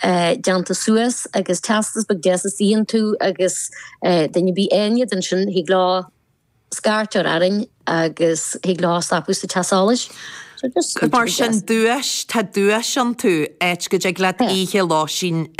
Déanta suas agus teastas beag deas istigh iontu agus duine ar bith a fhaigheann iad ansin thig leo scairt a chur orainn agus thig leo stopadh sa teach solais. So just Mar sin duais, tá duais iontu, áit go dtig leat oíche lóistín.